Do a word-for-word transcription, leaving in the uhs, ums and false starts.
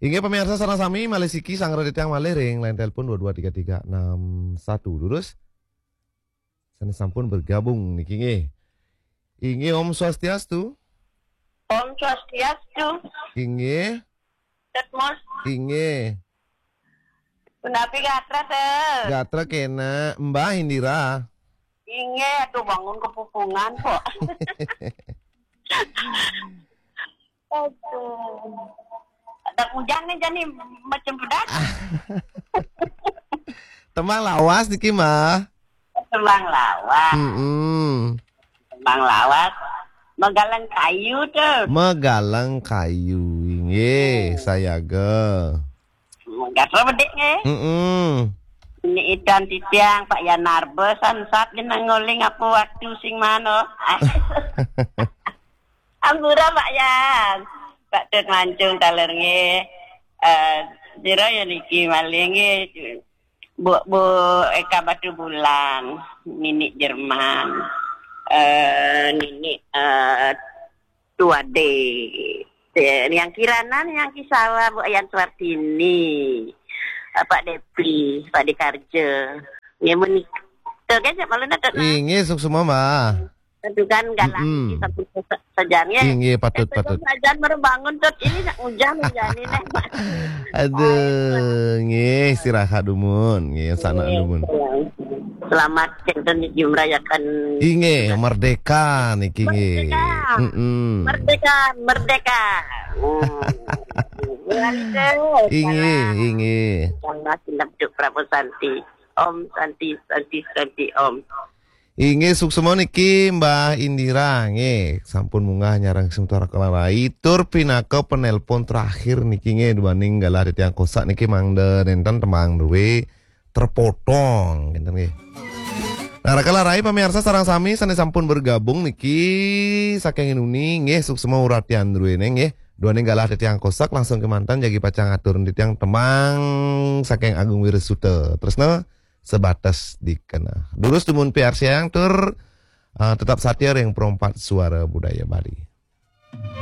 Inggih pamiarsa sareng sami, malih siki sanggra titiang malih ring line telepon dua dua tiga tiga enam satu. Durus sané sampun bergabung niki nggih. Inggih, Om Swastiastu. Om Swastiastu. Inggih. Tetmos. Inggih. Punapi gatra, Ter? Gatra kéné, Mbah Indira. Inggih, aduh, bangun kepupungan kok. Aduh. Ada hujan nih, jani macam pedas. Tembang lawas niki, Mbah. Tembang lawas. Mm-mm. Tembang lawas. Megalang kayu tuh. Megalang kayu, inggih, sayaga. Gatra bedik nggih. Mm-mm. Ini idan titiang Pak Yan Narba sansat jeneng ngoling apa waktu sing mano. Ampura Pak Yan. Pak Tut Mancung taler nggih. Eh, sira ya niki malih nggih. Bu, Bu Eka Batu Bulan, Nini Jerman. Eh, Nini eh, Tuade. Eh, yang Kiranan, yang Kisawa, Bu Ayan Suartini. Eh, Pak Depi, Pak Dekarja. Ya menik. Tuh kan malu nak. Inggih, suksma, Mbah. Itu kan galang Mm-mm. Di samping sa-, sajan ya. Inggih, patut, Eh, patut. Sajan baru bangun tuh. Ini nak hujan hujan ini. Aduh, nggih, istirahat dumun, nggih, sana dumun. Selamat kita niki merayakan Inggih, merdeka niki nggih. Merdeka. Mm-mm. Merdeka, merdeka. Hmm. Inggih, inggih. Salam tindak hidup Prabu Santi. Om Santi, Santi, Santi, Om. Inggih, suksma niki Mbah Indira nggih. Sampun munggah nyareng sementara kelarai tur pinaka penelpon terakhir niki nggih, duaning galah titiang kosak niki mangda nenten tembang druwe terpotong ngenten nggih. Nah, raka larai pamiarsa sareng sami sané sampun bergabung niki saking Inuni nggih, suksma uratian druwene nggih. Duaning galah titiang kosak langsung kemanten jagi pacang atur titiang tembang saking Agung Wirasuta. Tresna sebatas dikena. Durus dumun piarsiang tur, eh, tetap satia ring Perompat Suara Budaya Bali.